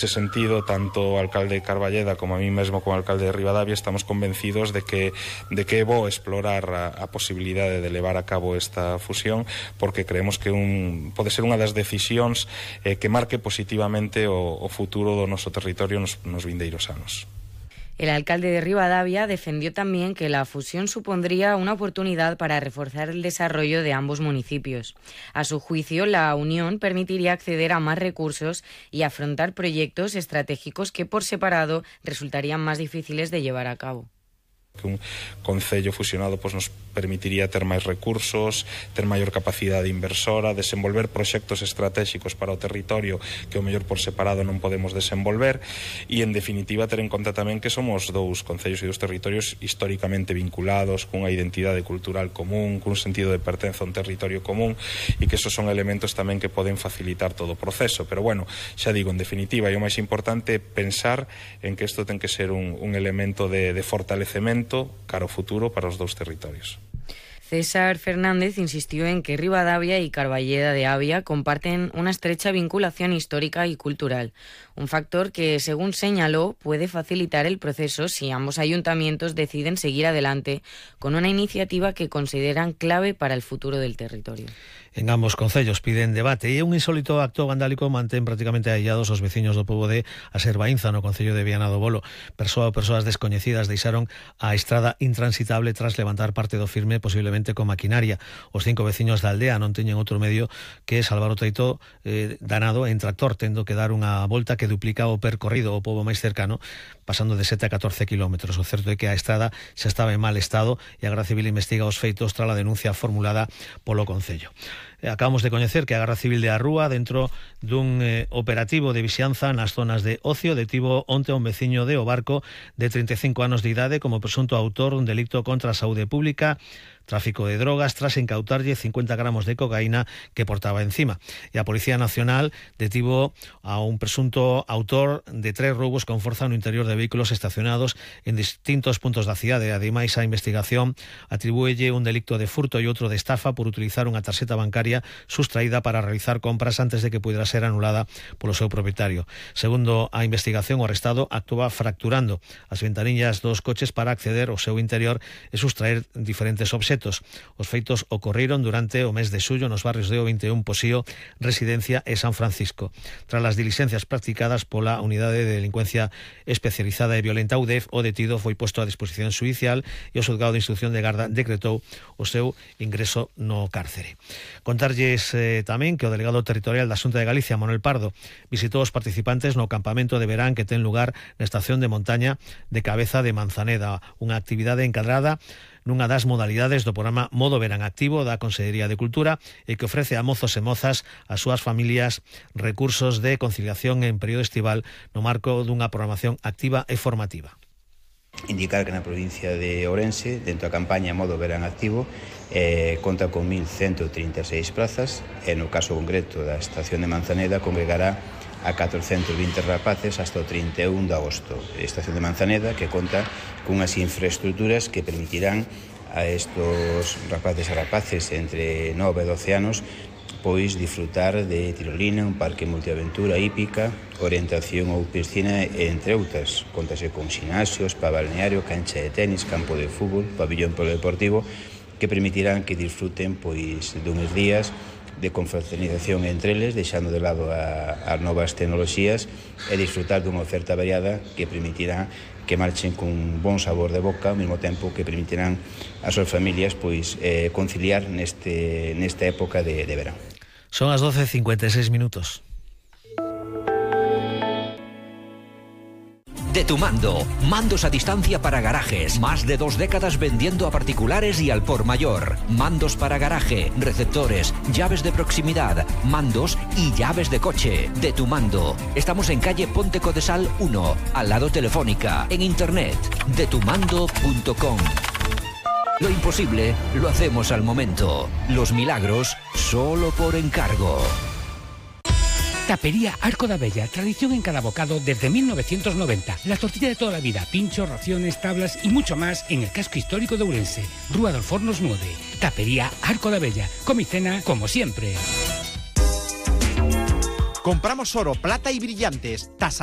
Nese sentido, tanto o alcalde de Carballeda como a mí mesmo como alcalde de Ribadavia estamos convencidos de que é bo explorar a posibilidade de levar a cabo esta fusión, porque creemos que pode ser unha das decisións que marque positivamente o futuro do noso territorio nos vindeiros anos. El alcalde de Ribadavia defendió también que la fusión supondría una oportunidad para reforzar el desarrollo de ambos municipios. A su juicio, la unión permitiría acceder a más recursos y afrontar proyectos estratégicos que por separado resultarían más difíciles de llevar a cabo. Que un concello fusionado nos permitiría ter máis recursos, ter maior capacidade inversora, desenvolver proxectos estratégicos para o territorio que o mellor por separado non podemos desenvolver e, en definitiva, ter en conta tamén que somos dous concellos e dous territorios históricamente vinculados, cunha identidade cultural común, cun sentido de pertenza a un territorio común, e que esos son elementos tamén que poden facilitar todo o proceso. Pero, bueno, xa digo, en definitiva, e o máis importante pensar en que isto ten que ser un elemento de fortalecemento cara ao futuro para os dous territorios. César Fernández insistió en que Ribadavia y Carballeda de Avia comparten una estrecha vinculación histórica y cultural, un factor que, según señaló, puede facilitar el proceso si ambos ayuntamientos deciden seguir adelante con una iniciativa que consideran clave para el futuro del territorio. En ambos concellos piden debate e un insólito acto vandálico mantén prácticamente aillados os veciños do pobo de Aserbaínza no concello de Viana do Bolo. Persoas descoñecidas deixaron a estrada intransitable tras levantar parte do firme, posiblemente con maquinaria. Os 5 veciños da aldea non teñen outro medio que salvar o treito danado en tractor, tendo que dar unha volta que duplica o percorrido ao pobo máis cercano, pasando de 7 a 14 kilómetros. O certo é que a estrada xa estaba en mal estado e a Garda Civil investiga os feitos tras a denuncia formulada polo concello. Acabamos de coñecer que a Garda Civil de Arrúa, dentro dun operativo de vixianza nas zonas de ocio, detivo onte a un veciño de O Barco de 35 anos de idade como presunto autor dun delito contra a saúde pública, tráfico de drogas, tras incautarlle 50 gramos de cocaína que portaba encima. E a Policía Nacional detivo a un presunto autor de 3 roubos con forza no interior de vehículos estacionados en distintos puntos da cidade. Ademais, a investigación atribúelle un delicto de furto e outro de estafa por utilizar unha tarxeta bancaria sustraída para realizar compras antes de que pudiera ser anulada polo seu propietario. Segundo a investigación, o arrestado actuaba fracturando as ventanillas dos coches para acceder ao seu interior e sustraer diferentes obxetos. Os feitos ocorreron durante o mes de xullo nos barrios de O21, Posío, Residencia e San Francisco. Tras as diligencias practicadas pola Unidade de Delincuencia Especializada e Violenta UDEF, o detido foi posto a disposición xudicial e o xulgado de instrucción de Garda decretou o seu ingreso no cárcere. Contarlles tamén que o delegado territorial da Xunta de Galicia, Manuel Pardo, visitou os participantes no campamento de verán que ten lugar na estación de montaña de Cabeza de Manzaneda, unha actividade encadrada nunha das modalidades do programa Modo Verán Activo da Consellería de Cultura e que ofrece a mozos e mozas as súas familias recursos de conciliación en período estival no marco dunha programación activa e formativa. Indicar que na provincia de Ourense, dentro da campaña Modo Verán Activo, conta con 1.136 plazas e no caso concreto da estación de Manzaneda congregará a 420 rapaces hasta o 31 de agosto. Estación de Manzaneda que conta cunhas infraestructuras que permitirán a estos rapaces e rapaces entre 9 e 12 anos pois disfrutar de tirolina, un parque multiaventura hípica, orientación ou piscina, entre outras. Contase con ximnasios, spa balneario, cancha de tenis, campo de fútbol, pabillón polideportivo, que permitirán que disfruten pois duns días de confraternización entre eles, deixando de lado as novas tecnoloxías e disfrutar dunha oferta variada que permitirá que marchen con bon sabor de boca, ao mesmo tempo que permitirán ás súas familias pois conciliar nesta época de verán. Son as 12:56 minutos. De Tu Mando, mandos a distancia para garajes, más de 2 décadas vendiendo a particulares y al por mayor. Mandos para garaje, receptores, llaves de proximidad, mandos y llaves de coche. De Tu Mando. Estamos en calle Ponte Codesal 1, al lado Telefónica, en internet, detumando.com. Lo imposible lo hacemos al momento. Los milagros solo por encargo. Tapería Arco da Bella, tradición en cada bocado desde 1990. La tortilla de toda la vida, pinchos, raciones, tablas y mucho más en el casco histórico de Ourense. Rúa dos Fornos 9. Tapería Arco da Bella. Come y cena como siempre. Compramos oro, plata y brillantes. Tasación